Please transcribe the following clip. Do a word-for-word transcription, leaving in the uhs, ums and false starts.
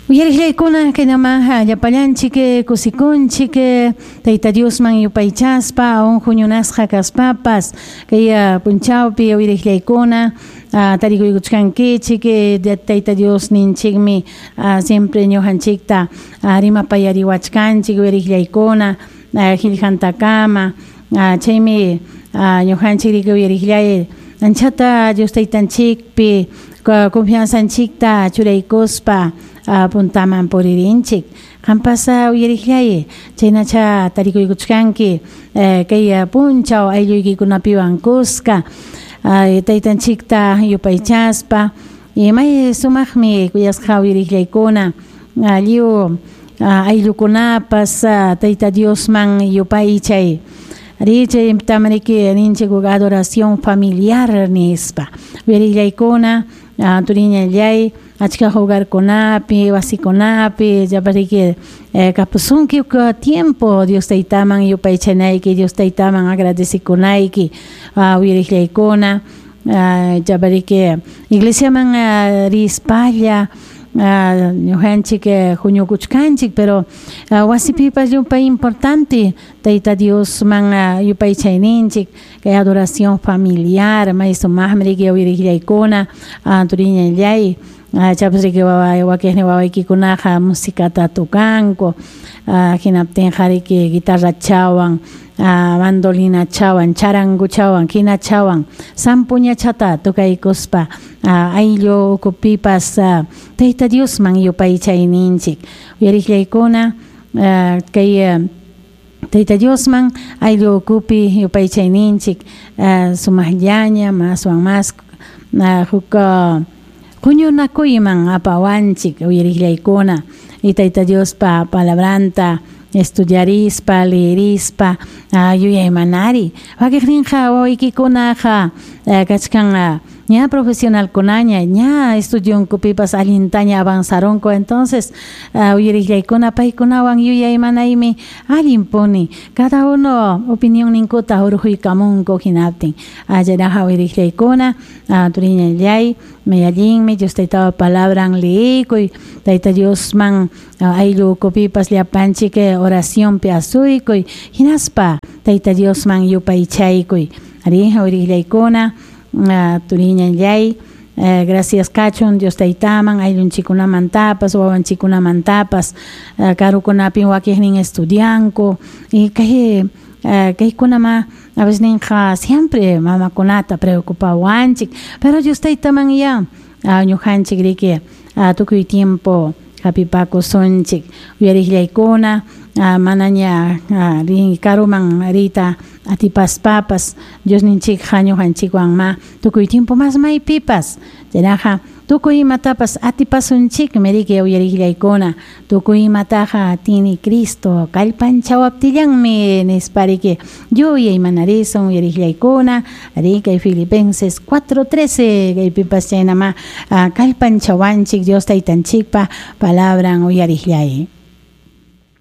Uyariqllaykuna kaynaman llapallanchik kusikunchik Tayta Diosman yupaychaspa aun huñunasqa kaspapas kay punchawpi uyariqllaykuna tarikuykuchkankichik Tayta Dios ninchikmi siempre ñuqanchikta rimapayariwachkanchik uyariqllaykuna qillqantakama chaymi ñuqanchik riki uyariqllay anchata Dios taytanchikpi confianzanchikta churaykuspa puntaman puririnchik qampas uyariqllay chaynacha tarikuykuchkanki kay punchaw aylluykikunapiwan kuska taytanchikta yupaychaspa may sumaqmi kuyasqa uyariqllaykuna lliw ayllukunapas Tayta Diosman yupaychay ari chaytam riki ninchik adoración familiar nispa uyariqllaykuna turiñallay achka hogarkunapi wasikunapi llapariki kapusunki tiempo Dios taytaman yupaychanayki Dios taytaman agradecikunayki uyariqllaykuna llapariki iglesiaman rispalla ñuqanchik huñukuchkanchik pero wasipipas llumpay importante Tayta Diosman yupaychayninchik kay adoración familiar may sumaqmi riki uyariqllaykuna turiñallay chapas riki wakiqnin wawaykikunaqa musikata tukanku hinaptinqa riki guitarrachawan mandolinachawan charanguchawan qinachawan sampuñachata tukaykuspa ayllu ukupipas Tayta Diosman yupaychayninchik uyariqllaykuna kay Tayta Diosman ayllu ukupi yupaychayninchik sumaqllaña maswan mas huk huñunakuyman apawanchik uyariqllaykuna y Tayta Diospa palabranta estudiarispa leerispa yuyaymanari wakiqninqa wawaykikunaqa kachkan ña profesionalkunaña ña estudionkupipas allintaña avanzarunku entonces uyariqllaykuna paykunawan yuyaymanaymi allinpuni cada uno opinionninkuta hurquykamunku hinaptin chayraqa uyariqllaykuna turiñallay may allinmi Dios taytapa palabran leeykuy Tayta Diosman ayllu ukupipas llapanchik oracionpi asuykuy hinaspa Tayta Diosman yupaychaykuy ari uyariqllaykuna turiñallay gracias kachun Dios taytaman ayllunchikunamantapas wawanchikunamantapas karukunapin wakiqnin estudianku y kay kaykunama a veces ninqa siempre mamakunata preocupawanchik pero Dios taytaman ya ñuqanchik riki tukuy tiempo hapipakusunchik uyariqllaykuna manaña karuman riyta atipaspapas Diosninchikqa ñuqanchikwan ma tukuy tiempo mas maypipas chaynaqa tukuy imatapas atipasunchikmi riki uyariqllaykuna tukuy imataqa atini Cristo kallpanchawaptillanmi nispa riki yuyaymanarisun uyariqllaykuna ari kay Filipenses cuatro trece kaypipas chaynama kallpanchawanchik Dios taytanchikpa palabran uyariqllay.